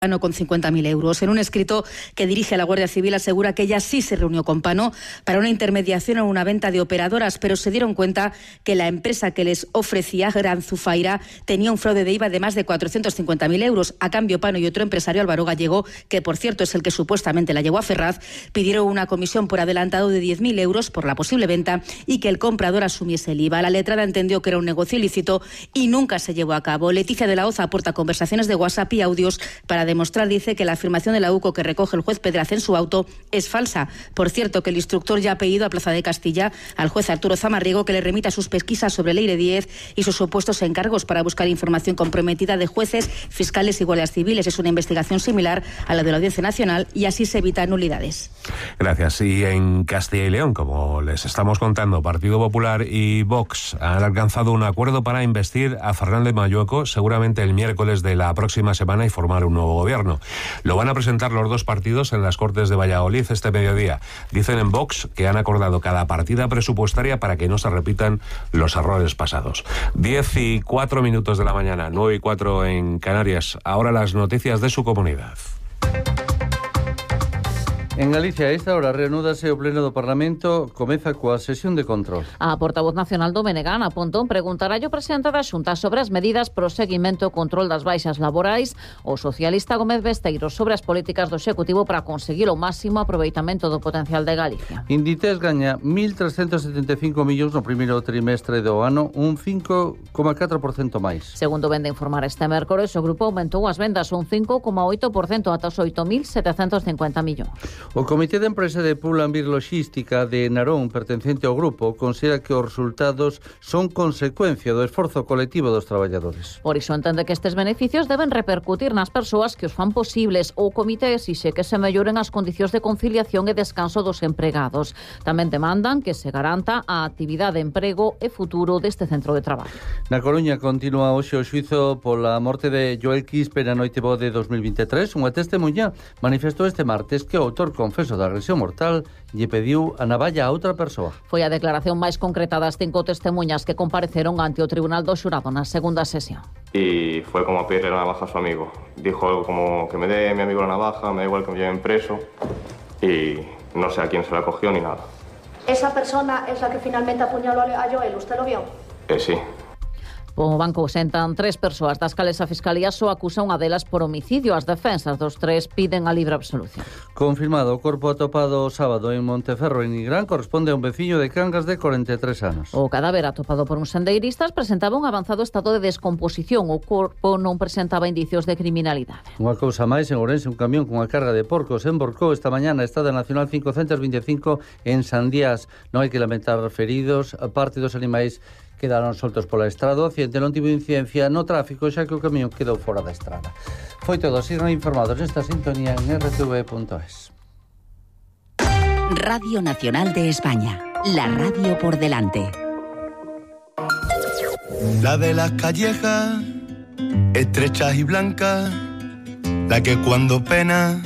con 50.000 euros. En un escrito que dirige a la Guardia Civil asegura que ella sí se reunió con Pano para una intermediación o una venta de operadoras, pero se dieron cuenta que la empresa que les ofrecía, Gran Zufaira, tenía un fraude de IVA de más de 450.000 euros. A cambio, Pano y otro empresario, Álvaro Gallego, que por cierto es el que supuestamente la llevó a Ferraz, pidieron una comisión por adelantado de 10.000 euros por la posible venta y que el comprador asumiese el IVA. La letrada entendió que era un negocio ilícito y nunca se llevó a cabo. Leticia de la Hoz aporta conversaciones de WhatsApp y audios para demostrar, dice, que la afirmación de la UCO que recoge el juez Pedraz en su auto es falsa. Por cierto, que el instructor ya ha pedido a Plaza de Castilla al juez Arturo Zamarrigo que le remita sus pesquisas sobre Leire Díez y sus supuestos encargos para buscar información comprometida de jueces, fiscales y guardias civiles. Es una investigación similar a la de la Audiencia Nacional y así se evitan nulidades. Gracias. Y en Castilla y León, como les estamos contando, Partido Popular y Vox han alcanzado un acuerdo para investir a Fernández Mayueco seguramente el miércoles de la próxima semana y formar un nuevo gobierno. Lo van a presentar los dos partidos en las Cortes de Valladolid este mediodía. Dicen en Vox que han acordado cada partida presupuestaria para que no se repitan los errores pasados. 10:04 de la mañana, 9:04 en Canarias. Ahora las noticias de su comunidad. En Galicia, a esta hora, reanúdase o Pleno do Parlamento, comeza coa sesión de control. A portavoz nacional do Menegan, a Pontón, preguntará ao presidente da Xunta sobre as medidas pro seguimento e control das baixas laborais, o socialista Gómez Besteiro sobre as políticas do Executivo para conseguir o máximo aproveitamento do potencial de Galicia. Inditex gaña 1.375 millóns no primeiro trimestre do ano, un 5,4% máis. Segundo vende informar este mércores, o grupo aumentou as vendas un 5,8% ata os 8.750 millóns. O Comité de Empresa de Pull&Bear Logística de Narón, pertencente ao grupo, considera que os resultados son consecuencia do esforzo colectivo dos traballadores. Por iso entende que estes beneficios deben repercutir nas persoas que os fan posibles. O comité exixe que se melloren as condicións de conciliación e descanso dos empregados. Tamén demandan que se garanta a actividade, emprego e futuro deste centro de traballo. Na Coruña continúa hoxe o xuízo pola morte de Joel Quispe na noite boa de 2023. Unha testemunha manifestou este martes que o autor confeso da agresión mortal lle pediu a navalla a outra persoa. Foi a declaración máis concreta das 5 testemunhas que compareceron ante o Tribunal do Xurado na segunda sesión. Y fue como pedirle la navaja a su amigo. Dijo algo como que me dé mi amigo la navaja, me da igual que me lleven preso, y no sé a quién se la cogió ni nada. ¿Esa persona es la que finalmente apuñaló a Joel? ¿Usted lo vio? Sí. O banco sentan 3 persoas das cales a Fiscalía só acusa unha delas por homicidio. As defensas dos 3 piden a libre absolución. Confirmado, o corpo atopado o sábado en Monteferro, en Nigrán, corresponde a un veciño de Cangas de 43 anos. O cadáver atopado por uns sendeiristas presentaba un avanzado estado de descomposición. O corpo non presentaba indicios de criminalidade. Unha cousa máis, en Ourense, un camión cunha carga de porcos emborcou esta mañá na Estrada Nacional 525 en Sandías. Non hai que lamentar feridos, a parte dos animais quedaron soltos pola estrada. O accidente non tivo incidencia no tráfico, xa que o camión quedou fora da estrada. Foi todo, sigan informados nesta sintonía en rtv.es. Radio Nacional de España, la radio por delante. La de las callejas, estrechas y blancas, la que cuando pena